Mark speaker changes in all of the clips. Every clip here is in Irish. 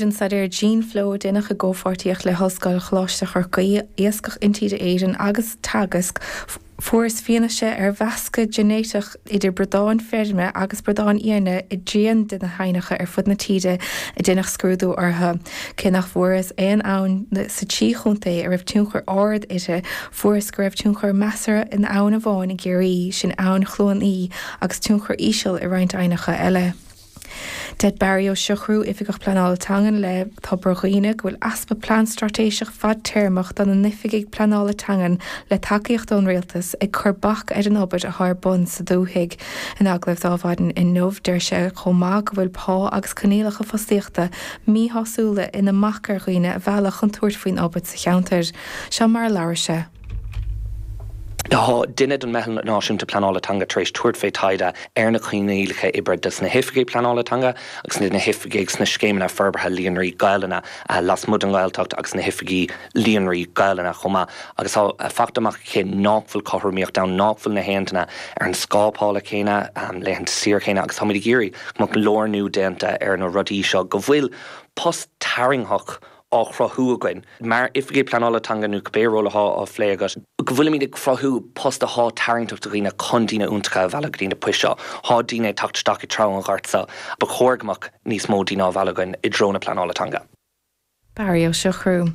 Speaker 1: An staidéar Gene Flow a deineadh i gcomhpháirtíocht le hOllscoil Choláiste Chorcaí, Iascach Intíre Éireann agus Teagasc, fuarthas fianaise ar mheascadh ginéiteach idir bradáin feirme agus bradáin fhiáine i dtrian de na haibhneacha ar fud na tíre a deineadh scrúdú orthu. Cé nach bhfuarthas aon abhainn sa trí chontae a raibh tionchar ard uirthi, fuarthas go raibh tionchar measartha in abhainn amháin i gCiarraí, sin Abhainn Chluain Í, agus tionchar íseal i roinnt aibhneacha eile. Deir Barry Ó Siochrú, Oifigeach Pleanála Teangan le Tobar Dhuibhne, go bhfuil easpa plean straitéiseach fadtéarmach do na n-oifigigh pleanála teangan le tacaíocht ón Rialtas ag cur bac ar an obair atá ar bun sa dúthaigh. In agallamh do Adhmhaidin inniu, deir sé chomh maith go bhfuil pá agus coinníollacha fostaíochta míshásúla ina mbac ar dhaoine a mhealladh chun tabhairt faoin obair sa cheantar. Seo mar a labhair sé.
Speaker 2: Tá duine den Meitheal Náisiúnta Pleanála Teanga tar éis tabhairt fé taighde ar na coinníollacha oibre dos na hoifigigh pleanála teanga agus na hoifigigh sna scéimeanna forbartha líonraí Gaelainne lasmuigh den Ghaeltacht agus na hoifigigh líonraí Gaelainne chomh maith agus tá fachta amach aici nách bhfuil cothromaíocht ann, nách bhfuil na haon duine ar an scáth pála céanna, laethanta saoire céanna agus táimid ag iarraidh go mbeadh lárnú déanta ar na rudaí seo, go bhfuil post tarraingtheach á chruthú againn, mar Oifigigh Pleanála Teanga nó cibé ról athá á phlé agat, go bhfuilimid ag cruthú post athá tarraingteach do dhaoine chun daoine iontacha a mhealladh go dtí na poist seo. Thá daoine ag teacht isteach i dtreo an ghort seo. Ba chóir go mbeadh níos mó daoine á mhealladh againn i dtreo na pleanála teanga.
Speaker 1: Barry Ó Siochrú.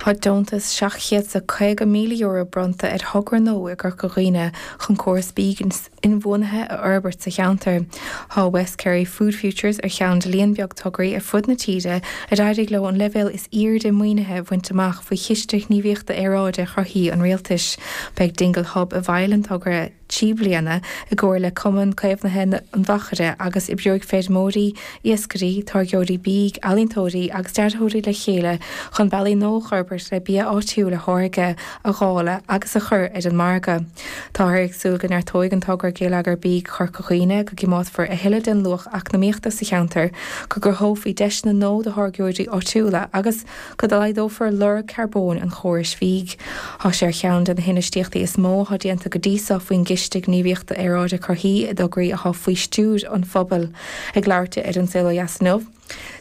Speaker 1: Tá deontas €750,000 bronnta ar thogra nua i gCorca Dhuibhne chun córas bídh inbhuanaithe a fhorbairt sa cheantar. Tá West Kerry Food Futures ar cheann de líon beag tograí ar fud na tíre ar éirigh leo an leibhéal is airde maoinithe a bhaint amach faoi Chiste Gníomhaíochta Aeráide Chorthaí an Rialtais. Beidh Dingle Hub i bhfeighil an togra 3 bliana i gcomhar le Cumann Caomhnaithe an Mhachaire agus oibreoidh feirmeoirí, iascairí, táirgeoirí bídh, ealaíontóirí agus dearthóirí le chéile chun bealaí nua a fhorbairt le bia áitiúil a tháirgeadh, a dháileadh agus a chur ar an margadh. Táthar ag súil go neartóidh an togra geilleagar bídh Chorca Dhuibhne, go gcimeádfar a thuilleadh den luach eacnamaíochta sa cheantar, go gcruthófaí deiseanna nua do tháirgeoirí áitiúla agus go laghdófar lorg carbóin an chórais bhídh. Tá sé ar cheann de na hinfheistíochtaí is mó atá déanta go dtí seo faoin gCiste Gníomhaíochta Aeráide Chorthaí i dtograí atá faoi stiúir an phobail. Ag labhairt di ar An Saol Ó Dheas inniu,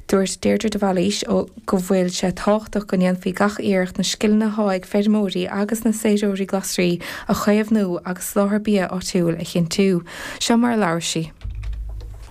Speaker 1: Dúirt Deirdre de Bhailís go bhfuil sé tábhachtach go ndéanfaí gach iarracht na scileanna atá ag feirmeoirí agus na séasúróirí glasraí a chaomhnú agus soláthar bia áitiúil a chinntiú. Seo mar a labhair sí.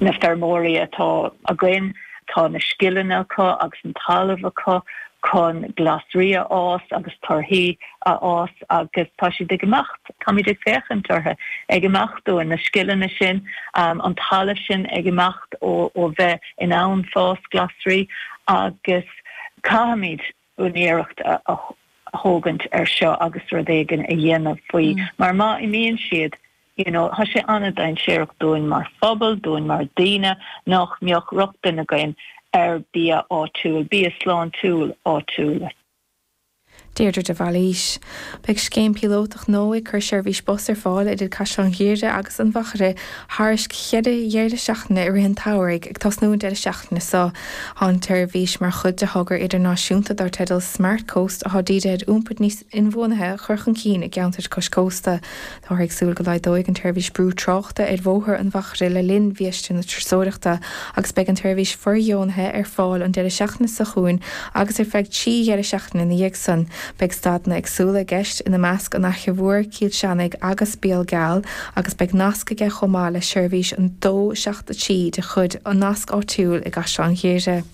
Speaker 3: Na feirmeoirí atá againn, tá na scileanna acu agus an talamh acu chun glasraí a fhás agus torthaí a fhás agus tá siad ag imeacht, táimid ag féachaint orthu ag imeacht uainn, na scileanna sin, an talamh sin ag imeacht ó bheith in ann fás glasraí agus caithfimid an iarracht a thógaint ar seo agus rud éigin a dhéanamh faoi mar má imíonn siad you know tá sé an-dainséarach dúinn mar phobal, dúinn mar daoine nach mbeadh rochtain againn ar bia áitiúil, bia sláintiúil áitiúil.
Speaker 1: Deirdre de Bhailís. Beidh scéim píolótach nua ag cur seirbhís bus ar fáil idir Caisleán Ghuaire agus an Mhachaire thairis cheithre dheireadh seachtaine i rith an tsamhraidh, ag tosnú an deireadh seachtaine seo. Tá an tseirbhís mar chuid de thogra idirnáisiúnta dar teideal Smart Coast atá dírithe ar iompar níos inbhuanaithe a chur chun cinn i gceantair cois cósta. Táthar ag súil go laghdóidh an tseirbhís brú tráchta ar bhóthar an Mhachaire le linn bhiaiste na turasóireachta agus beidh an tseirbhís fóirdheonaithe ar fáil an deireadh seachtaine seo chugainn agus ar feadh 3 dheireadh seachtaine ina dhiaidh san. Beidh stadanna éagsúla i gceist, ina measc an Fhaiche Mhór, Cill Seanaigh agus Béal Geal agus beidh nasc aige chomh maith le seirbhís an 2 7 3 de chuid an Nasc Áitiúil i gCaisleán Ghuaire.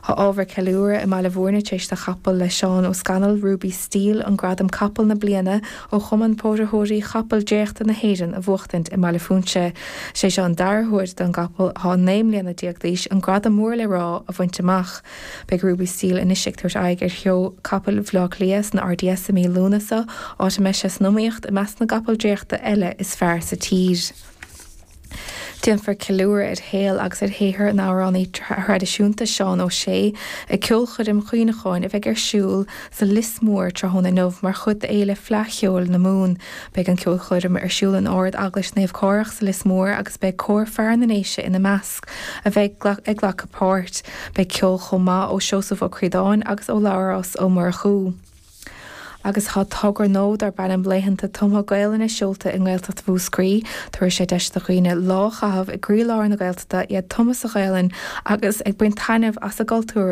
Speaker 1: Tá ábhar ceiliúradh i mBaile Bhúirne tar éis do chapall le Seán Ó Scanaill, Ruby Steel, an gradam Capall na Bliana ó Chumann Póraitheoirí Chapall Dréachta na hÉireann a bhuachtaint i mBaile Phúinse. Is é seo an dara huair don gcapall, atá 19 mbliana d'aois, an gradam mór le rá a bhaint amach. Beidh Ruby Steel anois ag tabhairt aghaidh ar Sheó Capall Bhaile Átha Cliath san RDS i mí Lúnasa, áit a mbeidh sé san iomaíocht i measc na gcapall dréachta eile is fearr sa tír. Déanfar ceiliúradh ar shaol agus ar shaothar an amhránaí thraidisiúnta Seán Ó Sé ag ceolchoirm chuimhneacháin a bheidh ar siúl sa Lios Mór tráthnóna inniu mar chuid d'Fhéile Fleadh Cheoil na Mumhan. Beidh an ceolchoirm ar siúl in Ard Eaglais Naomh Cárthach sa Lios Mór agus beidh Cór Fear na nDéise ina measc a bheidh ag glacadh páirt. Beidh ceol chomh maith ó Seosamh Ó Críodáin agus ó Labhrás Ó Murchú. Agus tá togra nua darb ainm Laethanta Tumtha Gaelainne seolta i nGaeltacht Mhúscraí. Tabharfaidh sé deis do dhaoine lá a chaitheamh i gcroílár na Gaeltachta, iad tumtha sa Ghaelainn agus ag baint taitneamh as a gcultúr.